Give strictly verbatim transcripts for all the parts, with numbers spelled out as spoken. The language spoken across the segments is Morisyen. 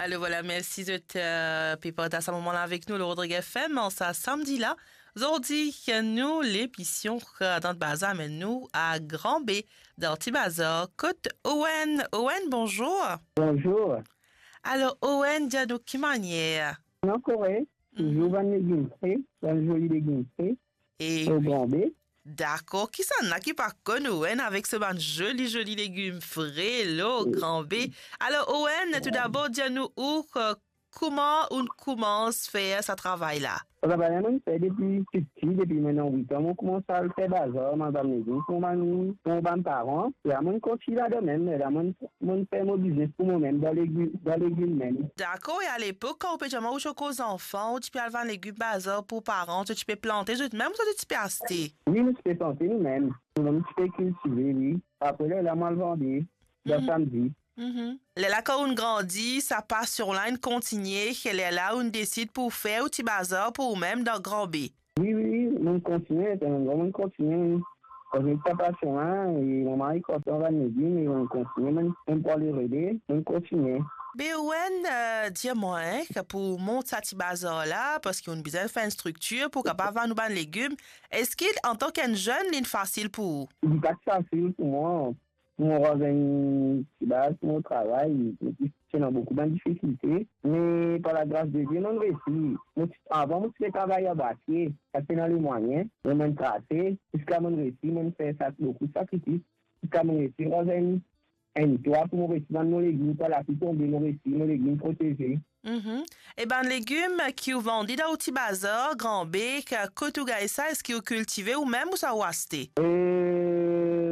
Alor vwala, mersi zot, eh, pe partaz sa moman la avek nou, lor Rodrig F M, an sa samdi la. Zordi, nou, lemision, eh, Dans Bazar amenn nou a Gran Be, dan Ti Bazar, kot Owen. Owen, bonzour. Bonzour. Alor, Owen, dir nou ki manier? Non, korek. Touzour bann legim fre, bann zoli legim fre. E lor Gran Be. Dakor, kisannla ki pa konn Owen avek so bann zoli, zoli legim fre lor Gran Be? Alor, Owen, tou dabor, dir nou ou, eh, kouma ou'nn koumans fer sa travay la? Sa travay la, mo'nn fer depi piti, depi mo ena wit an, mo koumans al fer bazar, mo al bann legim, kouma nou, kouma bann paran, e la mo'nn kontign ladan mem, e la mo'nn, mo'nn fer mo biznes pou momem, dan legim, dan legim mem. Dakor, e alepok, kan ou pe dir mwa ou ti ankor zanfan, ou ti pe al vann legim bazar pou paran, ou ti pe plante zot mem, ou ti pe aste? Wi, nou ti pe plante nou mem. Nou mem ti pe kiltive, wi. Apre, lerla mo al vande, dan samdi. Mhm. Lerla kan ou'nn grandi, sa pasion la inn kontigne, e lerla ou'nn desid pou fer ou ti bazar pou ou mem dan Gran Be. Wi, wi, wi, mo'nn kontigne, se mem mo'nn kontigne, wi. Parski sa pasion la, e mo mari kontan vann legim, e mo'nn kontigne, mo'nn, mo'nn pran lerele, mo'nn kontigne. Be Owen, eh, dir mwa, eh, ki pou mont sa ti bazar la, parski ou'nn bizin fer enn striktir pou kapav vann ou bann legim, eski antan ki enn zenn, li'nn fasil pou ou? Li pa ti fasil pou mwa. Pou mo rann enn ti baz pou mo travay, mo ti ena boukou bann difikilte, me par lagras de Die, mo'nn resi. Mo ti, avan, mo ti pe travay an bwatye, pa ti ena lemwayin, me mo'nn trase, ziska mo'nn resi, mo'nn fer sa boukou sakrifis, ziska mo'nn resi rann enn, enn twa pou mo resi vann mo legim, kan lapli tonbe, mo resi, mo legim proteze. Mhm. E bann legim ki ou vande dan ou ti bazar, Gran Be, ki, kot ou gagn sa, eski ou kiltive ou mem ou sa ou aste? E,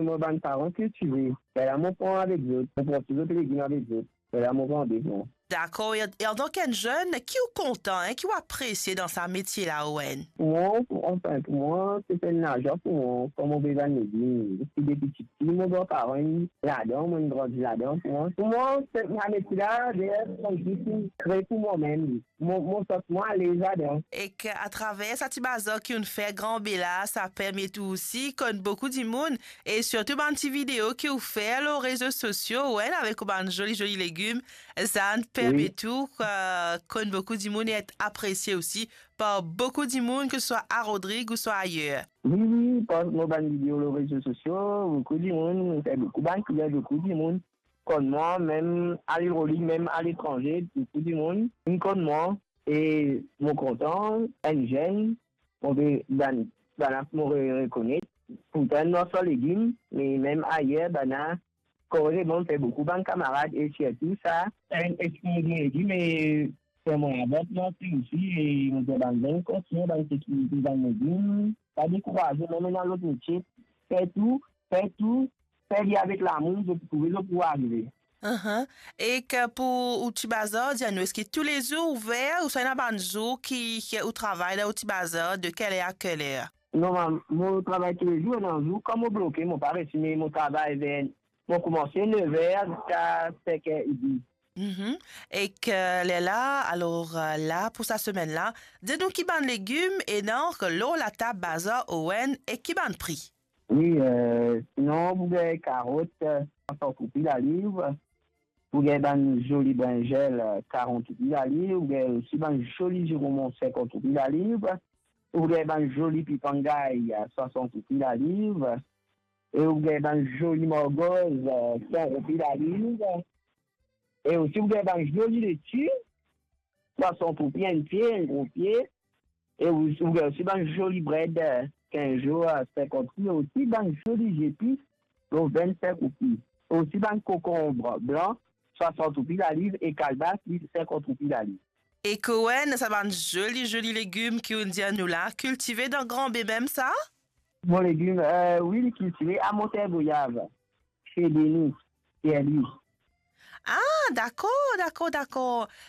mo bann paran kiltive. Lerla mo pran avek zot, mo pran tou zot legim avek zot. Lerla mo vande, bon. Dakor, e, e antan ki enn zenn, ki ou kontan, eh, ki ou apresie dan sa metie la, Owen? Pou mwa, pou, anfin, pou mwa, se enn lazwa pou mwa, kan mo pe vann legim. Depi tipti, mo gran paran ladan, mo'nn grandi ladan, pou mwa. Pou mwa, se, sa metie la, deyer, se enn zis kre pou mwa mem. Mo, mo santi mwa alez ladan. Ek atraver sa ti bazar ki ou'nn fer Gran Be la, sa permet ou osi konn boukou dimoun, e sirtou bann ti video ki ou fer lor rezo sosio, Owen, avek ou bann zoli, zoli legim, sa inn permet ou, eh, konn boukou dimoun e et apresie osi par boukou dimoun, ke se swa a Rodrig ouswa ayer. Wi, wi, par mo bann video lor rezo sosio, boukou dimoun, mo fer boukou bann klian, boukou dimoun konn mwa, mem a Lil Rodrig, mem aletranze, boukou dimoun inn konn mwa, e mo kontan, enn zenn, mo pe, bann, bann la mo re-, rekonet, pourtan enn marsan legim, me mem ayer, bann la, korektman, fer boukou bann kamarad, e sirtou sa, enn export legim, e fer mwa labank, mwa osi, e mo dir bann zenn, kontign bann sekirite, bann legim, pa dekouraze, mem ena lot metie, fer tou, fer tou, fer li avek lamour, zot pou trouve zot pou arive. Ahan. Ek pou ou ti bazar, dir nou, eski toulezour ouver, ouswa ena bann zour ki, ki ou travay dan ou ti bazar, de kel er a kel er? Normal, mo travay toulezour, ena zour, kan mo bloke, mo pa resi, me mo travay ver, mo koumanse nev er ziska senk er edmi. Mhm. Ek, eh, lerla, alor, eh, la, pou sa semenn la, dir nou ki bann legim ena lor latab bazar Owen e ki bann pri? Wi, eh, sinon, pou gagn karot, eh, swasann roupi laliv, pou gagn bann zoli brinzel, eh, karant roupi laliv, pou gagn osi bann zoli zironmon, sinkant roupi laliv, pou gagn bann zoli pipangay, eh, swasann roupi laliv, e pou gagn bann zoli margoz, eh, san roupi laliv, e osi pou gagn bann zoli leti, swasann roupi enn pie, enn gro pie, e ou, ou gagn osi bann zoli bred, eh, kinz zour, eh, sinkant roupi, e osi bann zoli zepis, lor vennsink roupi. E osi bann kokonb blan, swasann roupi laliv, e kalbas, li, sinkant roupi laliv. Ek Owen, sa bann zoli, zoli legim ki ou'nn dir nou la, kiltive dan Gran Be mem sa? Bon, legim, eh, wi, li kiltive a Monter Goyav, se Denis, Pierre-Louis. Ah, dakor, dakor, dakor.